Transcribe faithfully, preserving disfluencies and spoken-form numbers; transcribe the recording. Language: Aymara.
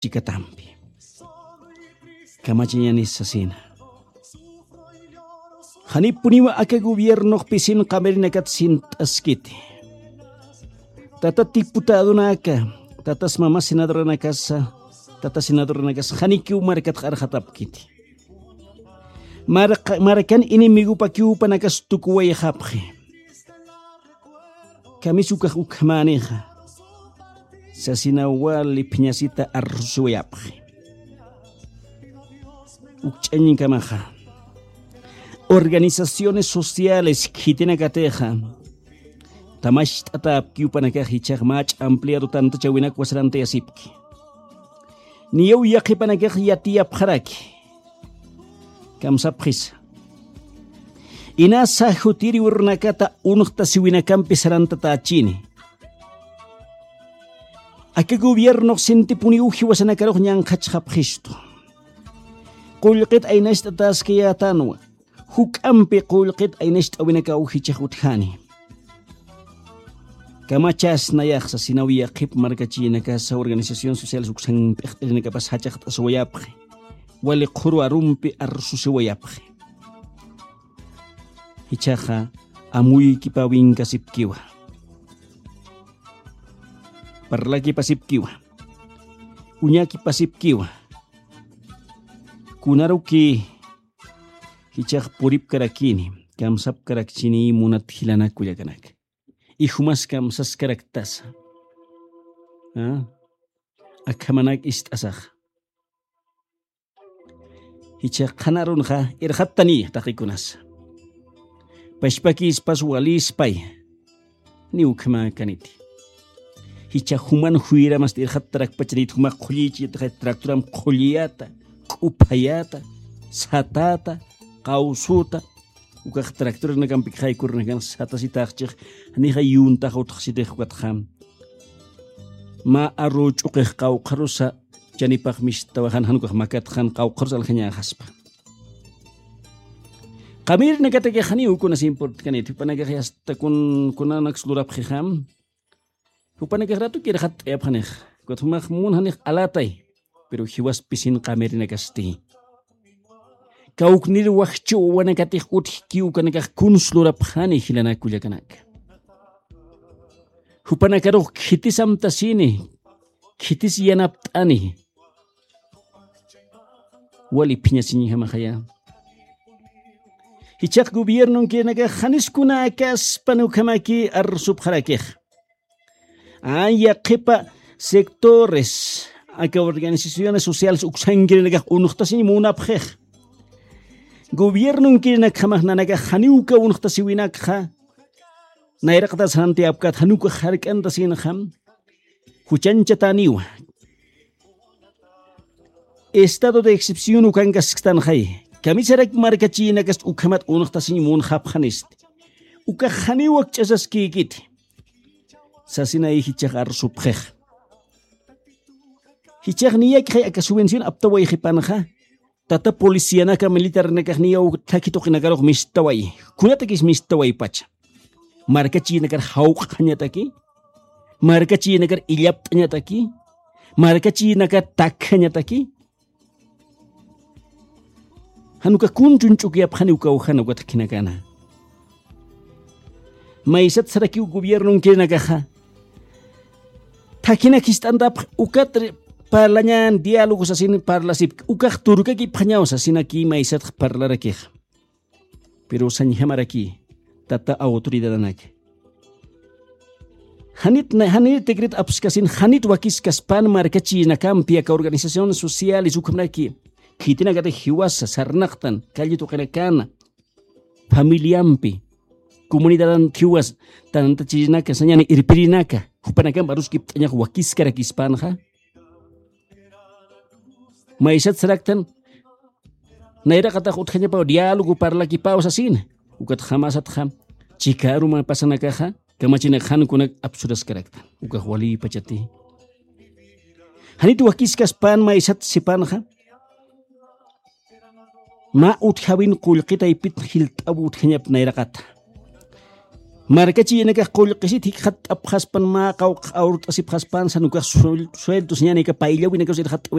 chikatampi. Kamachañanis sasina. Janipuniwa aka gobiernox pisin qamirinakat sint'askiti. Tata diputadonaka, tatas mama senadoranakasa, tata senadoranakasa janikiw markat q'arxatapkiti. Markan enemigopakiw jupanakas tukuwayxapxi. Kamisukax ukhamänixa sasina wali phiñasita arrusiwayapxi. Ukch'añkamaxa organizaciones sociales khitinakatixa tamacht'atapki jupanakax ichax mach'a ampliado tantachawinakwa sarantayasipki. Niyaw yaqhipanakax yatiyapxaraki. Kamsapxisa. Inasa jutiriw runakata unxtasiwinakampi sarantatächini. Aka gobiernox sintipuniw jiwasanakarux ñanqhachxapxistu. Qullqit aynacht'atäskayätanwa. Juk'ampi qullqit aynacht'awinakaw jichhax utjani. Kamachas nayaxsa sinaw yaqhip markachïnakasa organizaciones sociales uksan p'iqt'irinakapas jachaxt'asiwayapxi. Wali qhuru arumpi arsusiwayapxi. Jichhaxa amuykipawinkasipkiwa. Parlakipasipkiwa. Uñakipasipkiwa. Kunaruki jichhax puripkarakini kamsapkarakchini munat jilanak kullakanaka. Ijumas kamsaskaraktasa. Akhamanak ist'asaxa. Jichhax qhanarunxa irxattani taqikunasa. Pachpakispas walispay. Ni ukhamäkaniti. Jichha juman juyramasti irxattarakpachaniti juma qhullïchiyataxay tractoram qhulliyata, k'uphayata, satata, qawsuta. Ukax tractoranakampi khaykurinak satasitaxchix. Janixa yuntax utxsitix ukatxa mä arru ch'uqix qawqharusa chanipax mistawaxan jan ukax makatxan qawqharus aljañäxaspa. Qamirinakatakix janiw kunas importkaniti jupanakax yasta kun kunanaks lurapxixam. Jupanakax ratuki irxatt'ayapxanix. Ukat jumax munxanix alatay. Pero jiwas pisin qamirinakasti. Kawknir wajchu wawanakatix utjki ukanakax kuns lurapxani jilanak kullakanaka. Jupanakarux khitis amtasini. Khitis yanapt'ani. Wali phiñasiñjamaxaya. Jichhax gobiernon kirinakax janis kunäkaspan ukhamaki arsupxarakix. Aya qhipa sectores aka organizaciones sociales uksankirinakax unxtasiñ munapxix. Gobiernon kirinakjamax nanakax janiw uka unxtasiwinakxa nayraqatas jantiyapkat janiw uka jark'antasinxam. Juchañchatäniwa. Estado de excepción ukankasktanxay. Kamisarak markachïnakast ukhamat unxtasiñ munxapxanisti. Ukax janiw wakch'asaskïkiti. Sasinay jichhax arsupxix. Jichhax niyakixay aka subvención aptawayxipanxa. Tata policianaka militarnakax niyaw thakhi tuqinakarux mistaway. Kunatakis mistawaypacha. Markachïnakar jawq'añataki. Markachïnakar illapt'añataki. Markachïnakar takjañataki. Januka kunchun ch'ukiyapxani uka ujana uka thakhinakana. Maysat sarakiw gobiernon kirinakaxa. Thakhinak jist'antapx ukat parlañan diálogo sasin parlasipki ukax turkakipxañaw sasinaki maysatx parlarakixa. Pero sañjamaraki tata autoridadanaka. Janit janit tikrit apskasin janit wakiskaspan markachïnakampi aka organizaciones sociales ukhamraki khitinakatix jiwasa sarnaqtan calli tuqinakana familiampi comunidadan jiwas tantachïnaka sañani irpirinaka jupanakamp aruskipt'añax wakiskarakispanxa. Maysat saraktan nayraqatax utjañapaw diálogo parlakipaw sasina. Ukat jamasatxa chikaru mä pasanakaxa kamachinak jankunak apsuraskaraktan ukax walïpachati. Janit wakiskaspan maysat sipanxa mä utjawin qullqitaypit jilt'aw utjañap nayraqata. Markachiyanakax qullqisit jikxatt'apxaspan mä qawqx awrt'asipxaspan sanukax sueltos ñanaka payllawinakax irxatt'awi.